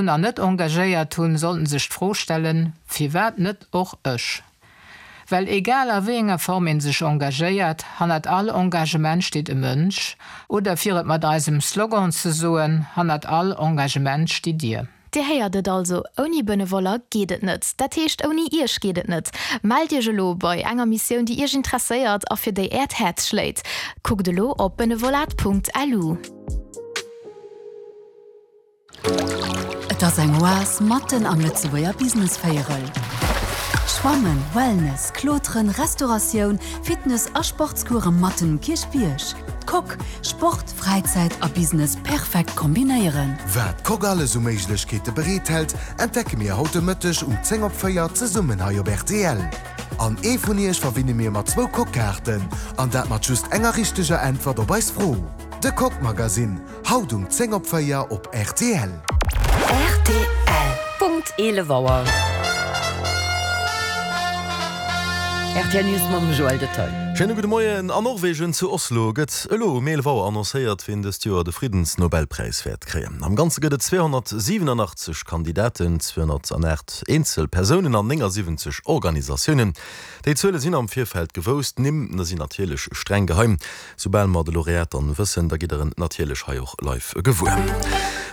Nach net engagéiert hunn, sollten sech d'Fro stellen, Firwat net och ech? Well egal a wéi enger Form een sech engagéiert, hannert all Engagement steet e Mënsch, oder fir et mat eisem Slogan ze soen, Hannert all Engagement stitt Dir. Dir héiert et also, ouni Benevoller geet et net. Dat heescht, ouni Iech geet et net. Mellt Iech elo bei enger Missioun, déi Iech interesséiert a fir déi Äert Häerz schléit. Kuckt elo op benevolat.lu. Et ass eng Oas matten am Lëtzebuerger Businessvéierel. Schwammen, Wellness, Kloteren, Restauratioun, Fitness a Sportscourse matten um Kierchbierg. D'Coque, Sport, Fräizäit a Business perfekt kombinéieren. Wat d'Coque alles u Méiglechkeete bereet hält, entdecke mir haut de Mëtteg um 10 op 4 zesummen hei op rtl. An ee vun iech verwinne mir mat zwou Coque-Kaarten, an dat mat just enger richteger Äntwert op eis Fro. De Coque Magazine, Haut um 10 op 4 op rtl. Rtl. Punkt 11 Auer. Rtl News mam Joël Detaille. Schéine gudde Moien. An Norwegen zu Oslo gëtt elo um 11 Auer annoncéiert, wien dëst Joer de Friddensnobelpräis wäert kréien. Am Ganze gëtt et 287 Kandidaten, 208 eenzel Persounen an 79 Organisatiounen. Déi Zuele sinn am Virfeld gewousst, d'Nimm sinn natierlech streng geheim. Soubal mer de Laureat dann wëssen, da gitt der en natierlech hei och live gewuer.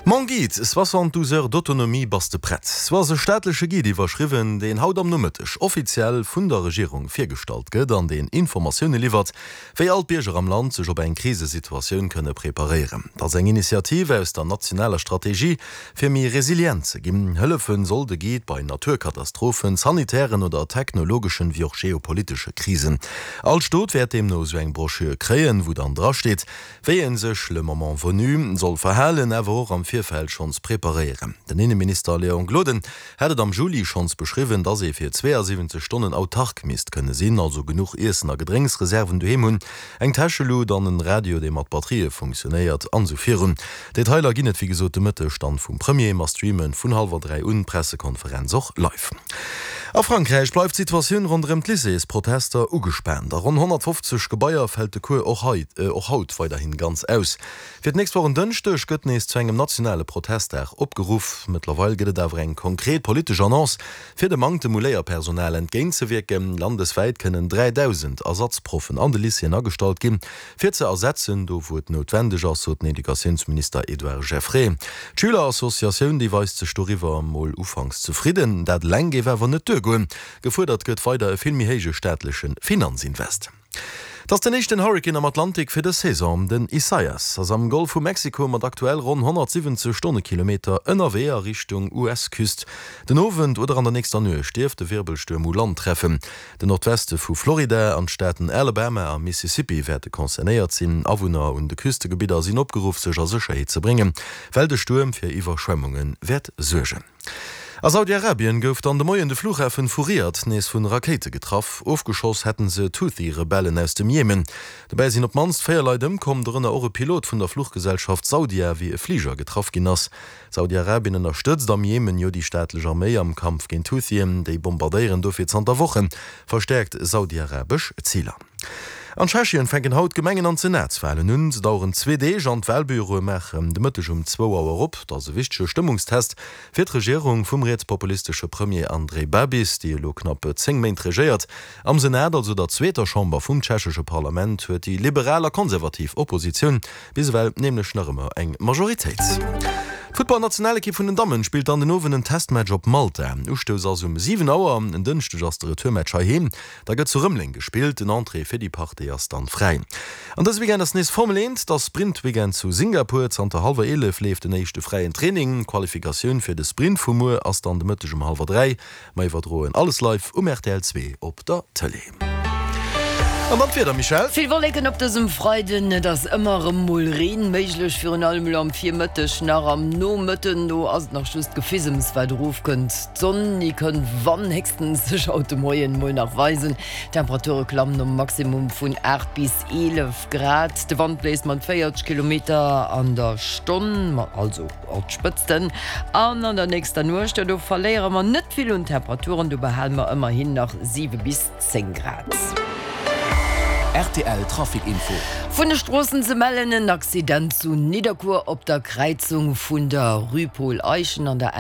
Mon Guide, 72 heures d'autonomie, bass de prett? Sou ass e staatleche Guide iwwerschriwwen, deen haut am Nomëtteg offiziell vun der Regierung virgestallt gëtt an deen Informatioune liwwert, wéi all d'Bierger am Land sech op eng Krisesituatioun kënne preparéieren. Dat ass eng Initiative aus der nationaler Strategie, fir méi resilient ze ginn. Hëllefe soll de Guide bei Naturkatastrophen, sanitären oder technologeschen, wéi och geopolitesche Krisen. All Stot wäert deemno esou eng Broschür kréien, wou dann drasteet, wéi ee sech le moment venu soll verhalen, awer och am Virfeld schonns preparéieren. Den Inneminister Léon Gloden hat et am Juli schonns beschriwwen, dass ee fir 72 Stonnen autark misst kënne sinn, also genuch Iessen a Gedrénksreserven doheem hunn, eng Täschelut an en Radio, dee mat Batterië funktionéiert, an esou virun. Detailer ginn et wéi gesot de Mëtteg dann vum Premier. Mer streamen vun hallwer 3 un d'Pressekonferenz och live. A Frankräich bleift d'Situatioun ronderëm d'Lycéesprotester ugespaant. A ronn 150 Gebaier fält de Cours och och haut weiderhin ganz aus. Fir d'nächst Woch en Dënschdeg gëtt nees zu engem nationale Protestdag opgeruff. Mëttlerweil gëtt et awer eng konkret politesch Annonce, fir dem Manktem u Léierpersonal entgéintzewierken. Landeswäit kënnen 3.000 Ersatzproffen an de Lycéeën agestallt ginn. Fir ze ersetzen, do wou et noutwendeg ass, sot den Educatiounsminister Edouard Geffray. D'Schülerassociatioun, déi weist sech doriwwer emol ufanks zefridden. Dat eleng géif awer net duergoen. Gefuerdert gëtt weider e vill méi héije staatleche Finanzinvest. Et ass den éischten Hurrikan am Atlantik fir dës Saison. Den Isaias ass am Golf vu Mexiko mat aktuell ronn 170 Stonnekilometer ënnerwee a Richtung US-Küst. Den Owend oder an der nächster Nuecht dierft de Wirbelstuerm u Land treffen. Den Nordweste vu Florida an d'Staaten Alabama a Mississippi wäerte concernéiert sinn. Awunner un de Küstegebidder sinn opgeruff, sech a Sécherheet ze bréngen, well de Stuerm fir Iwwerschwemmunge wäert suergen. A Saudi-Arabien gouf dann de Moien de Flughafen vu Riad nees vu Rakéite getraff. Ofgeschoss hätten se d'Huthi-Rebellen aus dem Jemen. Dobäi sinn op d'mannst 4 Leit ëmkomm, dorënner och e Pilot vun der Fluchgesellschaft Saudia, wéi e Fliger getraff ginn ass. Saudi-Arabien ënnerstëtzt am Jemen jo déi staatlech Arméi am Kampf géint d'Huthien. Déi bombardéieren dofir zanter Woche verstäerkt saudi-arabesch Ziler. An Tschechien fänken haut d'Gemengen an d'Senatswalen un. Se daueren zwee Deeg an d'Walbüroe maachen de Mëtteg um zwou Auer op. Dat ass e wichtege Stëmmungstest fir d'Regierung vum rietspopulistesche Premier Andrej Babis, déi elo knapp 10 Méint regéiert. Am Senat, also der zweeter Chamber vum tschechesche Parlament, huet déi liberal a konservativ Oppositioun Bis ewell nämlech nach ëmmer eng Majoritéit. D'Futtballnationalekipp vun den Dammen spillt dann den Owend en Testmatch op Malta. Ustouss ass um 7 Auer. En Dënschdeg ass de Retourmatch heiheem. Da gëtt zu Rëmeleng gespillt. Den Entrée fir déi Partie ass dann fräi. An dëse Weekend ass nees Formel 1. Et ass Sprint-Weekend zu Singapur. Zanter hallwer 11 leeft den éischte fräien Training. D'Qualifikatioun fir de Sprint vu muer ass dann de Mëtteg um hallwer 3. Mer iwwerdroen alles live um rtl 2 op der Tëlee. An dann d'Wieder, Michèle? Vill Wolleken op dësem Freiden, et ass ëmmer erëm mol Reen méiglech, virun allem elo am Virmëtteg, nach am Nomëtten. Do ass et nach just Gefisems wat erofkënnt. D'Sonn, déi kënnt wann héchstens sech haut de Moien mol nach weisen. D'Temperature klammen op e Maximum vun 8 bis 11 Grad. De Wand bléist mat 40 Kilometer an der Stonn, also op d'Spëtzten. An an der nächster Nuecht, jo do verléiere mer net vill un Temperaturen, do behale mer ëmmerhin nach 7 bis 10 Grad. Rtl Trafic Info. Vun de Stroossen ze mellen, en Accident zu Nidderkuer op der Kräizung vun der Rue Paul Eyschen an der.